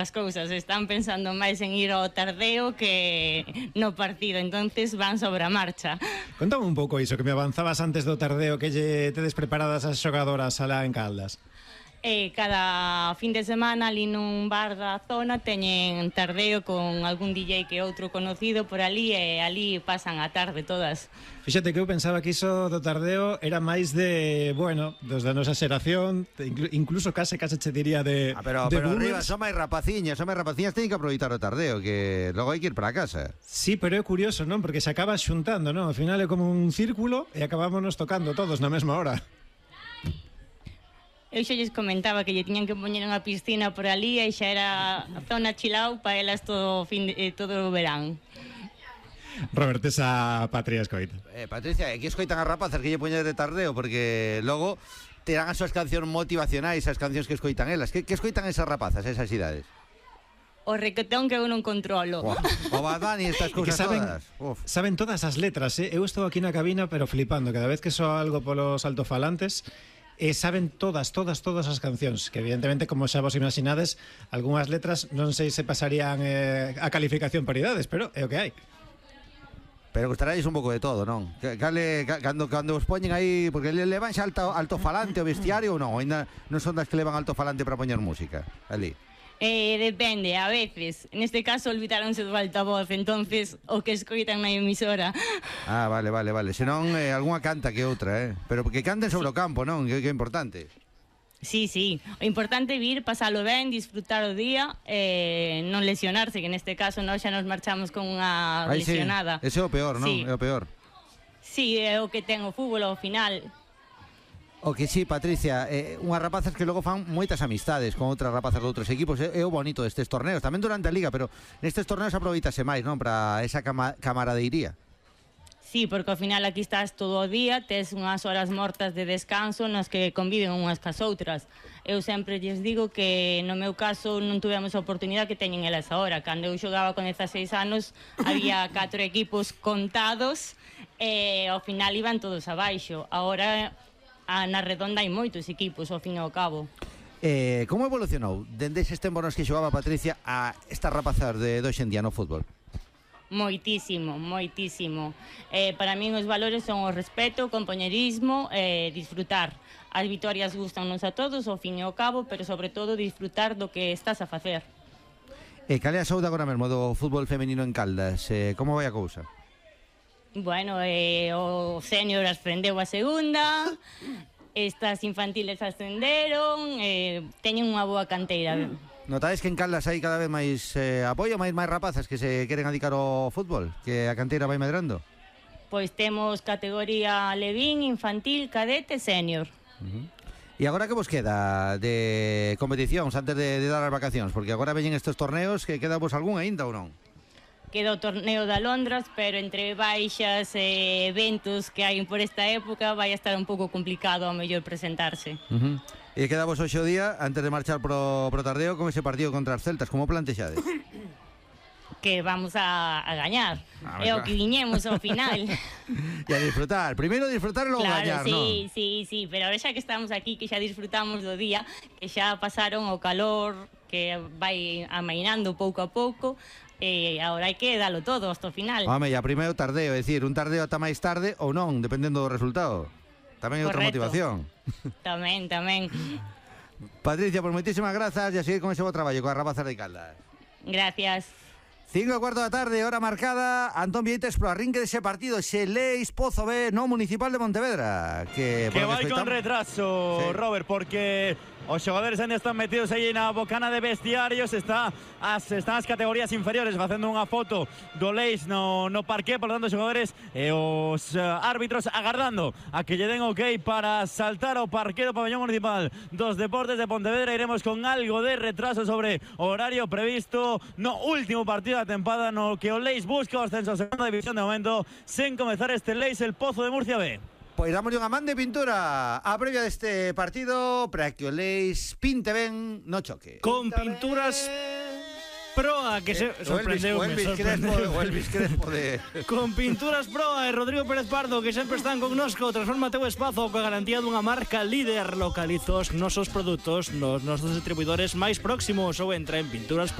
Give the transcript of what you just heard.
as cousas, están pensando máis en ir ao tardeo que no partido, entonces van sobre a marcha. Contame un pouco iso, que me avanzabas antes do tardeo, que lle tedes preparadas as xogadoras alá en Caldas. Cada fin de semana ali nun bar da zona teñen tardeo con algún DJ que outro conocido por ali e ali pasan a tarde todas. Fíxate que eu pensaba que iso do tardeo era máis de, bueno, dos da nosa xeración, incluso case che diría de pero boomers. arriba son máis rapaciñas, teñen que aproveitar o tardeo, que logo hai que ir para casa. Sí, pero é curioso, non? Porque se acaba xuntando, non? Ao final é como un círculo e acabámonos tocando todos na mesma hora. Eu xa lles comentaba que lle tiñan que poñer unha piscina por ali e xa era a zona chilao para elas todo o verán. Robert, esa Patria escoita. Patricia, aquí escoitan as rapazas que lle poñen de tardeo, porque logo terán as súas cancións motivacionais, as cancións que escoitan elas. Que escoitan esas rapazas, esas idades? O requetón que eu non controlo. O Badani, estas cousas todas. Saben todas as letras, Eu estou aquí na cabina, pero flipando. Cada vez que soa algo polos altofalantes, saben todas as cancións, que evidentemente, como xa vos imaginades, algunhas letras non sei se pasarían a calificación por idades, pero é o que hai. Pero gustaráis un pouco de todo, non? Cando os poñen aí, porque levan xa altofalante o bestiario ou non? Ainda non son das que levan altofalante para poñer música ali. Depende, a veces. Neste caso olvidaronse do altavoz, entonces o que escoitan na emisora. Vale. Senón, algunha canta que outra, Pero que canten sobre o campo, non? Que é importante. Sí. O importante é vir, pasalo ben, disfrutar o día, non lesionarse, que neste caso nós xa nos marchamos con unha lesionada. Sí. Ese é o peor, non? Sí. É o peor. Sí, é o que ten o fútbol ao final. O que sí, Patricia, unhas rapazas que logo fan moitas amistades con outras rapazas de outros equipos. É o bonito destes torneos, tamén durante a Liga, pero nestes torneos aproveitase máis, non? Para esa camaradeiría. Sí, porque ao final aquí estás todo o día, tes unhas horas mortas de descanso nas que conviven unhas cas outras. Eu sempre lles digo que no meu caso non tuvemos a oportunidade que teñen elas agora. Cando eu xogaba con 16 anos había 4 equipos contados e ao final iban todos abaixo. Agora na redonda hai moitos equipos, ao fin e ao cabo. Como evolucionou dende eses tempos nos que xogaba Patricia a estas rapazas de hoxe en día no fútbol? Moitísimo. Para min os valores son o respeto, o compañerismo, disfrutar. As vitorias gustannos a todos, ao fin e ao cabo, pero sobre todo disfrutar do que estás a facer. Cal é a saúde agora mesmo do fútbol femenino en Caldas? Como vai a cousa? Bueno, o senior ascendeu a segunda, estas infantiles ascenderon, teñen unha boa canteira. Notades que en Caldas hai cada vez máis apoio, máis rapazas que se queren adicar ao fútbol, que a canteira vai medrando? Pois temos categoría levín, infantil, cadete, senior. E agora que vos queda de competicións antes de dar as vacacións? Porque agora veñen estes torneos, que queda vos algún aínda ou non? Queda o torneo de Alondras, pero entre baixas e eventos que hai por esta época vai a estar un pouco complicado ao mellor presentarse. E queda vos hoxe o día, antes de marchar pro tardeo, con ese partido contra as Celtas, como plantexades? Que vamos a gañar. É o que viñemos ao final. E a disfrutar. Primeiro disfrutar e logo gañar, non? Sí, pero ahora xa que estamos aquí, que xa disfrutamos do día, que xa pasaron o calor, que vai amainando pouco a pouco, e agora hai que dalo todo hasta o final. Home, e a primeiro tardeo, é dicir, un tardeo ata máis tarde ou non, dependendo do resultado. Tamén hai outra motivación. Tamén. Patricia, por moitísimas grazas e a seguir con ese bo traballo coas rapazas de Caldas. Gracias. 5:15 da tarde, hora marcada. Antón Vieites pro arrinque dese partido, ese Leis Pozo B no Municipal de Pontevedra, que vai con retraso, sí. Robert, porque os xogadores ainda están metidos aí na bocana de vestiarios. Están as categorías inferiores facendo unha foto do Leis no parqué. Por lo tanto, os xogadores e os árbitros agardando a que lle den ok para saltar ao parqué do pabellón municipal dos Deportes de Pontevedra. Iremos con algo de retraso sobre o horario previsto no último partido da tempada, no que o Leis busca o ascenso a segunda división de momento, sen comezar este Leis el Pozo de Murcia B. Pois damos unha man de pintura a previa deste partido para que o Leis pinte ben no choque. Con pinturas Proa, que se sorprendeu. O Elvis Crespo de... Con Pinturas Proa e Rodrigo Pérez Pardo, que sempre están connosco. Transforma teu espazo coa garantía dunha marca líder. Localiza os nosos produtos nos nosos distribuidores máis próximos ou entra en Pinturas